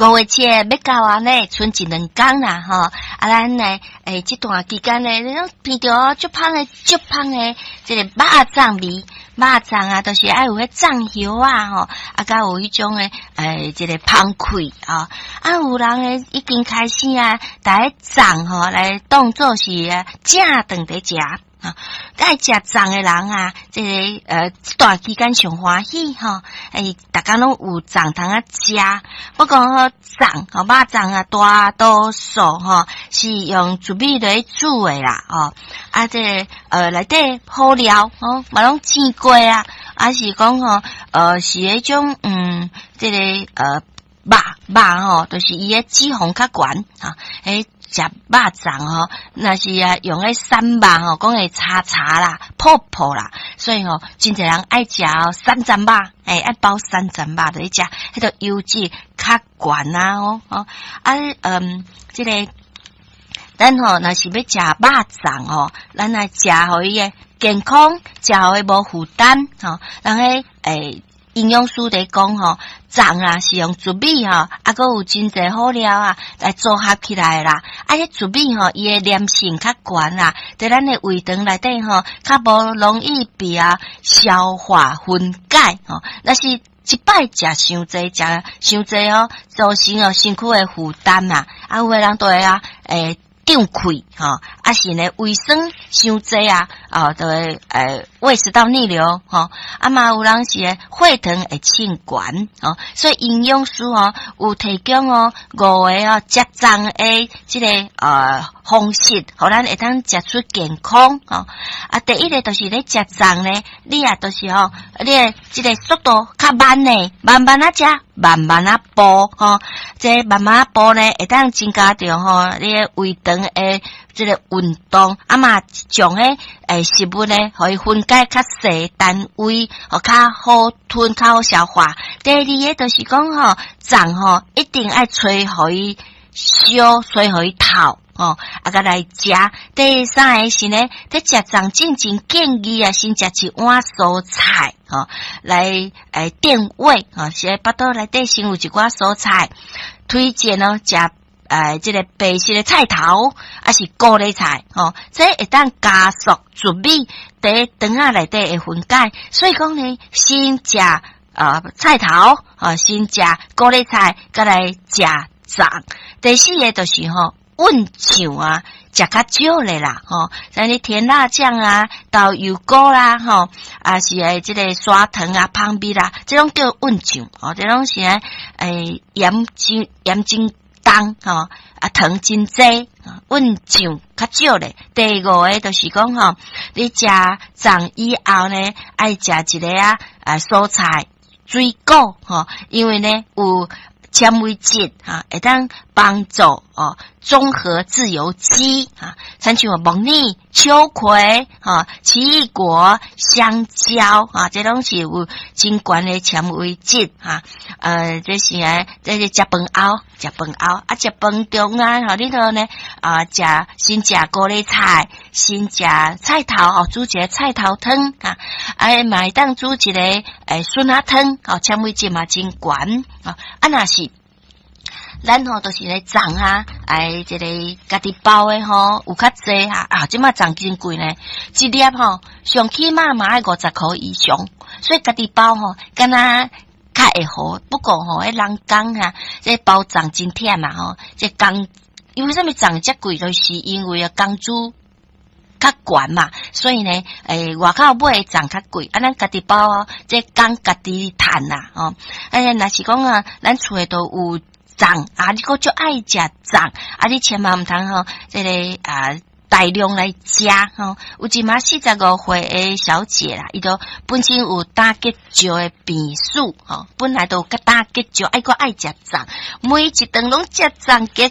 5月7欲到啊呢，賰一兩工啦吼。啊，咱呢，這段期間呢，你攏聞著足芳的、足芳的，這個肉粽味，肉粽啊，就是愛有彼粽葉仔吼，啊，佮有彼種的，這個芳氣啊。啊，有人呢已經開始啊，共彼粽吼來當做是正頓佇食。啊，愛食粽的人啊，這個這段期間上歡喜吼，逐工攏有粽通仔食。不過吼，粽吼肉粽啊，大多數吼是用糯米來煮的啦，吼。啊，這個內底好料吼，嘛攏煎過啊，啊是講吼，是彼種這個肉肉吼，就是伊的脂肪較懸，哈，食肉粽吼，若是啊用彼瘦肉吼，講會柴柴啦、泡泡啦，所以吼，真濟人愛食三層肉，愛包三層肉來食，彼個油脂較懸啊，吼，啊，這個咱吼若是欲食肉粽吼，咱來食予伊的健康，食予伊無負擔，吼，人彼營養師佇講吼，粽啊是用糯米吼，啊，閣有真濟好料啊來組合起來啦。啊，彼糯米吼，伊的黏性較懸啦，佇咱的胃腸內底吼，較無容易被啊消化分解吼。若是一擺食傷濟，食傷濟哦，造成哦身軀的負擔啊。啊，有的人就會啊，脹氣吼，啊是呢胃酸傷濟啊，哦，就會胃食道逆流吼，啊嘛有人是血糖會衝懸吼，所以營養師吼有提供哦五個哦食粽的這個方式，予咱會當食出健康吼。啊，第一個就是咧食粽呢，你啊就是吼，你的這個速度較慢呢，慢慢仔食，慢慢仔哺吼，這慢慢仔哺呢，會當增加著吼你的胃腸的這個運動，啊嘛將彼食物呢，予伊分解較細單位，予較好吞、較好消化。第二个就是講吼，粽吼一定愛吹予伊燒，吹予伊透。吼，啊，閣來食。第三个是呢，佇食粽進前建議啊，先食一碗蔬菜，吼，來墊胃，吼，是腹肚內底先有一寡蔬菜。推薦哦，食這個白色的菜頭，抑是高麗菜，吼，這會當加速糯米佇腸仔內底的分解。所以講呢，先食菜頭，吼，先食高麗菜，閣來食粽。第四个就是吼，溫醬啊，食較少咧啦，吼，像你甜辣醬啊、豆油膏啦，吼，啊是這個砂糖啊、蜂蜜啦，這攏叫溫醬，吼，這攏是鹽真鹽真重，吼，啊糖真濟，溫醬較少咧。第五个就是講吼，你食粽以後呢，愛食一个啊蔬菜水果，吼，因為呢有纖維質哈，會當幫助哦，中和自由基哈，親像木耳、秋葵、哈奇異果、香蕉啊，這攏是有真懸的纖維質哈。這是啊，這是食飯後，食飯後啊，食飯中間吼，你著呢啊，食先食高麗菜，先食菜頭哦，煮一个菜頭湯啊，啊，嘛會當煮一个筍仔湯哦，纖維質嘛真懸啊，啊，若是咱吼就是咧粽啊，這個家己包的吼有較濟哈啊，這馬粽真貴呢，一粒吼上起碼嘛愛50箍以上，所以家己包吼，敢若較會好。不過吼，彼人工啊，這包粽真忝啊吼，這工因為啥物粽遮貴，就是因為啊工資較懸嘛，所以呢，外口買的粽較貴，啊，咱家己包哦，這工家己趁啦，吼，哎，若是講啊，咱厝的都有粽啊，你閣足愛食粽，啊，你千萬毋通吼，這個啊大量來食吼。有一馬45歲的小姐啦，伊都本身有膽結石的病史吼，本來都有膽結石，愛閣愛食粽，每一頓攏食粽，結